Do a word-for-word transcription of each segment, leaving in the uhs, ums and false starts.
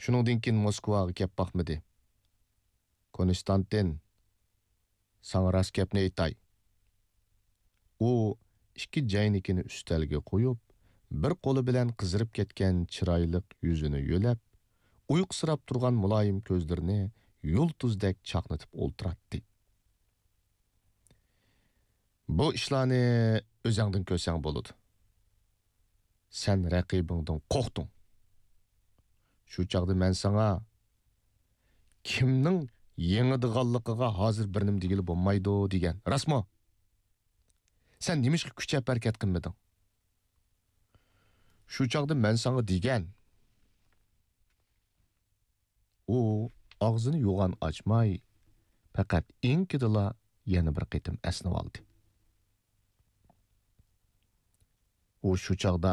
شۇنىڭدىن كېيىن موسكۋاغا كەپ باقمىدى. كونستانتىن، ساڭا راست گەپنى ئېيتاي. ئۇ ئىككى جەينىكىنى ئۈستەلگە قويۇپ، بىر قولى بىلەن قىزىرىپ كەتكەن چىرايلىق يۈزىنى يۆلەپ، ئۇيقۇسىراپ تۇرغان مۇلايىم كۆزلىرىنى يۇلتۇزدەك چاقنىتىپ ئولتۇراتتى. بۇ ئىشلارنى ئۆزەڭدىن كۆرسەڭ بولىدۇ. سەن رەقىبىڭدىن قورقتۇڭ. شۇ چاغدا مەن ساڭا، كىمنىڭ يېڭىدىغانلىقىغا ھازىر بىر نېمە دېگىلى بولمايدۇ دېگەن. راستمۇ؟ سەن نېمىشقا كۈچەپ ھەرىكەت قىلمىدىڭ؟ شۇ چاغدا مەن ساڭا دېگەن. ئۇ ئاغزىنى يوغان ئاچماي، پەقەت ئېڭىكىدىلا يەنە بىر قېتىم ئەسنىۋالدى. ئۇ شۇ چاغدا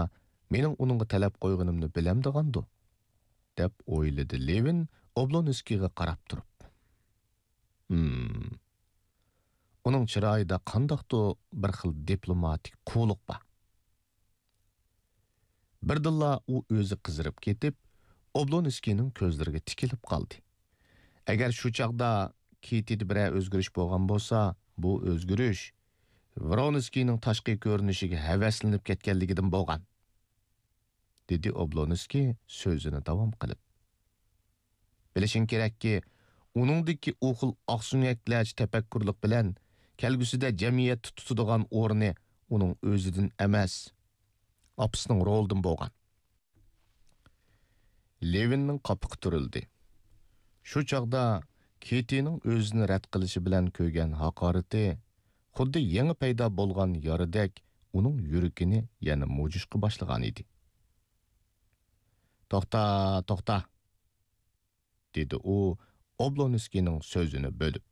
مېنىڭ ئۇنىڭغا تەلەپ قويغىنىمنى بىلەمدىغاندۇ؟ دەپ ئويلىدى لېۋىن ئوبلونسكىيغا قاراپ تۇرۇپ. ھىم. ئۇنىڭ چىرايىدا قانداقتۇ بىر خىل دىپلوماتىك قۇۋلۇق بار. بىردىنلا ئۇ ئۆزى قىزىرىپ كېتىپ، ئوبلونسكىينىڭ كۆزلىرىگە تىكىلىپ قالدى. ئەگەر شۇ چاغدا كېتىدە بىرەر ئۆزگىرىش بولغان بولسا، بۇ ئۆزگىرىش ۋرونسكىينىڭ تاشقى كۆرۈنۈشىگە ھەۋەسلىنىپ كەتكەنلىكىدىن بولغان، دېدى ئوبلونسكىي سۆزىنى داۋام قىلىپ. بىلىشىڭ كېرەككى، ئۇنىڭدىكى ئۇ خىل ئاقسۆڭەكلەرچە تەپەككۇرلۇق بىلەن كەلگۈسىدە جەمئىيەتتە تۇتىدىغان ئورنى ئۇنىڭ ئۆزىدىن ئەمەس، ئاپىسىنىڭ رولىدىن بولغان. لېۋىننىڭ قاپىقى تۈرۈلدى. شۇ چاغدا كېتىنىڭ ئۆزىنى رەت قىلىشى بىلەن كۆرگەن ھاقارىتى خۇددى يېڭى پەيدا بولغان يارىدەك ئۇنىڭ يۈرىكىنى يەنە مۇجۇشقا باشلىغانىدى. توختا، توختا! دېدى ئۇ ئوبلونسكىينىڭ سۆزىنى بۆلۈپ.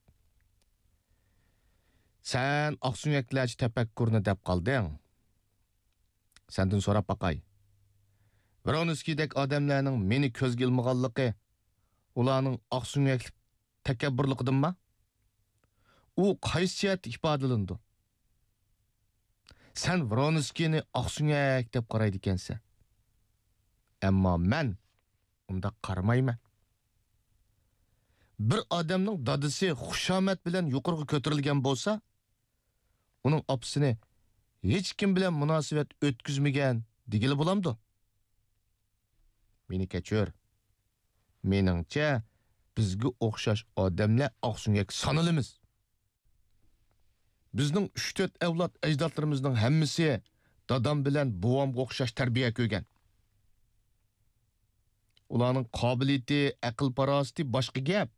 سەن ئاقسۆڭەكلەرچە تەپەككۇرنى دەپ قالدىڭ. سەندىن سوراپ باقاي. ۋرونسكىيدەك ئادەملەرنىڭ مېنى كۆزگە ئىلمىغانلىقى ئۇلارنىڭ ئاقسۆڭەكلىك تەكەببۇرلۇقىدىنما؟ ئۇ قايسى جەھەتتە ئىپادىلىنىدۇ؟ سەن ۋرونسكىينى ئاقسۆڭەك دەپ قارايدىكەنسەن. ئەمما مەن ئۇنداق قارىمايمەن. بىر ئادەمنىڭ دادىسى خۇشامەت بىلەن يۇقىرىغا كۆتۈرۈلگەن بولسا، ئۇنىڭ ئاپىسىنى ھېچكىم بىلەن مۇناسىۋەت ئۆتكۈزمىگەن دېگىلى بولامدۇ؟ مېنى كەچۈر. مېنىڭچە، بىزگە ئوخشاش ئادەملەر ئاقسۆڭەك سانىلىمىز. بىزنىڭ ئۈچ-تۆت ئەۋلاد ئەجدادلىرىمىزنىڭ ھەممىسى دادام بىلەن بوۋامغا ئوخشاش تەربىيە كۆرگەن. ئۇلارنىڭ قابىلىيىتى، ئەقىل-پاراسىتى باشقا گەپ.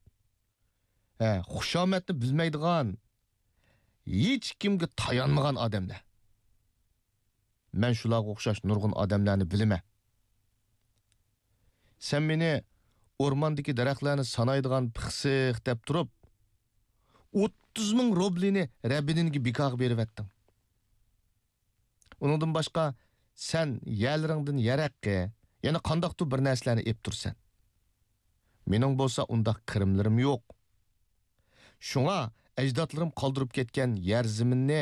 ھە، خۇشامەتنى بىلمەيدىغان، ھېچكىمگە تايانمىغان ئادەملەر. مەن شۇلارغا ئوخشاش نۇرغۇن ئادەملەرنى بىلىمەن. سەن مېنى ئورماندىكى دەرەخلەرنى سانايدىغان پىخسىق دەپ تۇرۇپ، ئوتتۇز مىڭ روبلىنى رەبىدىنگە بىكارغا بېرىۋەتتىڭ. ئۇنىڭدىن باشقا، سەن يەرلىرىڭدىن يەر ھەققى، يەنە قانداقتۇر بىر نەرسىلەرنى ئېلىپ تۇرىسەن. مېنىڭ بولسا ئۇنداق كىرىملىرىم يوق. شۇڭا ئەجدادلىرىم قالدۇرۇپ كەتكەن يەر زېمىننى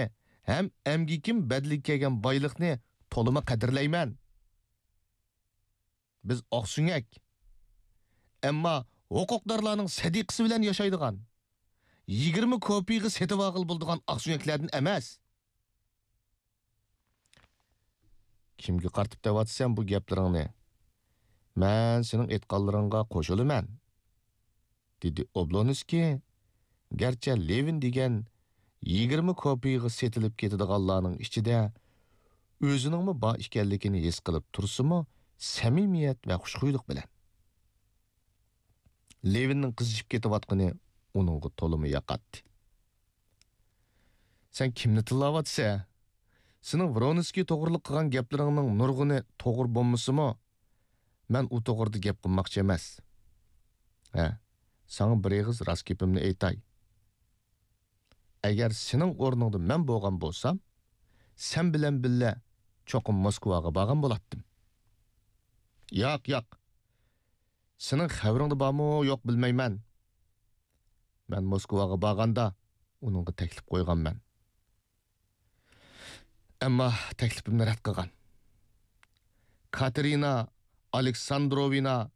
ھەم ئەمگىكىم بەدىلىگە كەلگەن بايلىقنى تولىمۇ قەدىرلەيمەن. بىز ئاقسۆڭەك، ئەمما ھوقۇقدارلارنىڭ سەدىقىسى بىلەن ياشايدىغان، يىگىرمە كوپىيىغا سېتىۋالغىلى بولىدىغان ئاقسۆڭەكلەردىن ئەمەس. كىمگە قارىتىپ دەۋاتىسەن بۇ گەپلىرىڭنى؟ مەن سېنىڭ ئېيتقانلىرىڭغا قوشۇلىمەن، دېدى ئوبلونسكىي، گەرچە لېۋىن دېگەن يىگىرمە كوپىيىغا سېتىلىپ كېتىدىغانلارنىڭ ئىچىدە ئۆزىنىڭمۇ بار ئىكەنلىكىنى ھېس قىلىپ تۇرسىمۇ، سەمىمىيەت ۋە خۇشخۇيلۇق بىلەن. لېۋىننىڭ قىزىشىپ كېتىۋاتقىنى ئۇنىڭغا تولىمۇ ياقاتتى. سەن كىمنى تىللاۋاتىسەن؟ سېنىڭ ۋرونسكىي توغرىلىق قىلغان گەپلىرىڭنىڭ نۇرغۇنى توغرا بولمىسىمۇ، مەن ئۇ توغرىدا گەپ قىلماقچى ئەمەس. ھە، ساڭا بىر ئېغىز راست گېپىمنى ئېيتاي. ئەگەر سېنىڭ ئورنۇڭدا مەن بولغان بولسام، سەن بىلەن بىللە چوقۇم موسكۋاغا بارغان بولاتتىم. ياق، ياق. سېنىڭ خەۋىرىڭدە بارمۇ يوق بىلمەيمەن. مەن موسكۋاغا بارغاندا ئۇنىڭغا تەكلىپ قويغانمەن. ئەمما تەكلىپىمنى رەت قىلغان. كاتېرىنا ئالېكساندروۋنا